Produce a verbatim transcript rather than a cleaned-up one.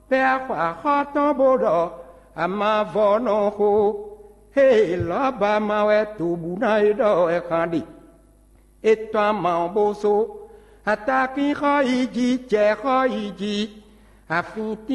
Bɛ́ axwa xɔ tɔn bó ɖɔ amavɔ nɔ xo. Ée lɔ̌ba ma wɛ tobuna e ɖɔ wɛ xan ɖe. É tɔ́n ama ɔ́ bó só. Atakínxɔ yi jí, jɛxɔ yi jí, afin